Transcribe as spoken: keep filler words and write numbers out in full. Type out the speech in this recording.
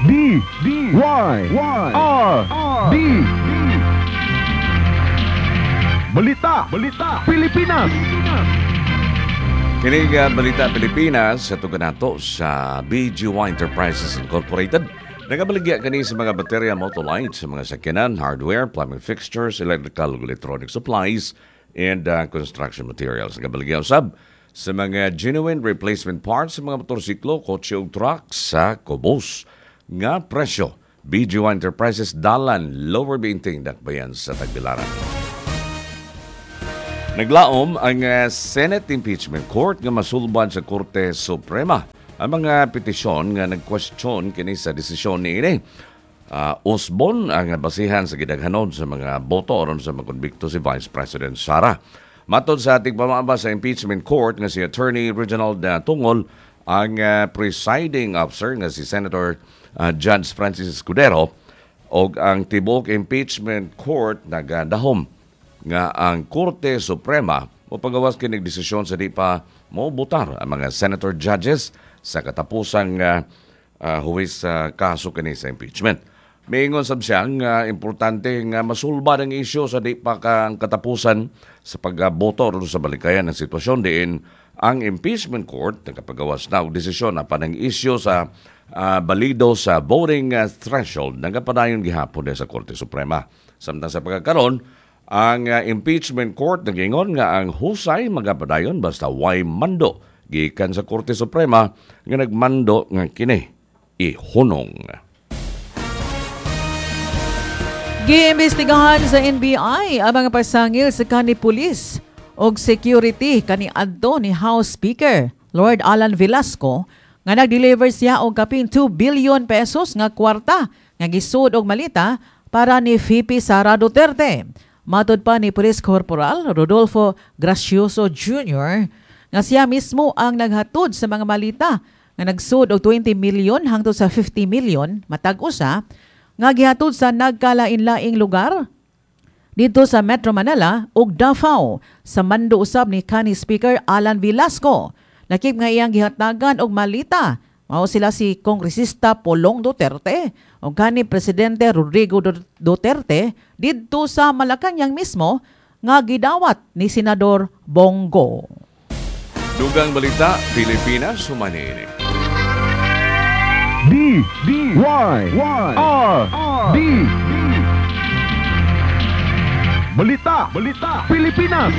D D Y Y R D Balita, Balita, Pilipinas. Kini nga Balita Pilipinas sa nato sa B G Y Enterprises Incorporated. Nagabaligya kani sa mga baterya, motor lights, sa mga sakyanan, hardware, plumbing fixtures, electrical ug electronic supplies, and uh, construction materials. Nagabaligya usab sa mga genuine replacement parts sa mga motorsiklo, kotse ug truck sa kubos nga presyo. B G Y Enterprises, Dalan, Lower Buinting, Dakbayan sa Tagbilaran. Naglaom ang uh, Senate Impeachment Court nga masulban sa Korte Suprema ang mga petisyon nga nagkwestiyon kini sa desisyon niini. Uh, usbon ang basihan sa gidaghanon sa mga boto aron sa makonbikto si Vice President Sara. Matod sa ating pamaba sa Impeachment Court nga si Attorney Reginald uh, Tungol, ang uh, presiding officer nga si Senator uh, Judge Francis Escudero og ang tibuok Impeachment Court nagadahom nga ang Korte Suprema mopagawas kinig desisyon sa di pa mobotar ang mga senator judges sa katapusang uh, uh, huwis sa kaso kini sa impeachment. Miingon sab siya nga importante nga masulbad ang isyu sa di pa ka ang katapusan sa pagboto ron sa balikayan ng sitwasyon diin ang Impeachment Court nagapagawas na og desisyon apan ang isyu sa uh, balido sa voting uh, threshold nagapadayon gihapon sa Korte Suprema. Samtang sa pagkakaron, ang uh, Impeachment Court nagingon nga ang husay magapadayon basta way mando gikan sa Korte Suprema nga nagmando nga kini ihunong. Giimbestigahan sa N B I ang mga pasangil sa kani pulis og security kani adto ni House Speaker Lord Alan Velasco nga nag-deliver siya og kapin two billion pesos nga kwarta nga gisud og malita para ni V P Sara Duterte. Matod pa ni Police Corporal Rodolfo Gracioso Junior nga siya mismo ang naghatod sa mga malita nga nagsud og twenty million hangtod sa fifty million matag usa nga gihatod sa nagkalain-laing lugar dito sa Metro Manila ug Davao sa mando usab ni kanhi Speaker Alan Velasco. Lakip nga iyang gihatagan og malita mao sila si Kongresista Polong Duterte o kanhi Presidente Rodrigo Duterte didto sa Malacañang mismo nga gidawat ni Senador Bong Go. Dugang Balita Pilipinas human. D D Y Y R D Balita, Balita, Pilipinas.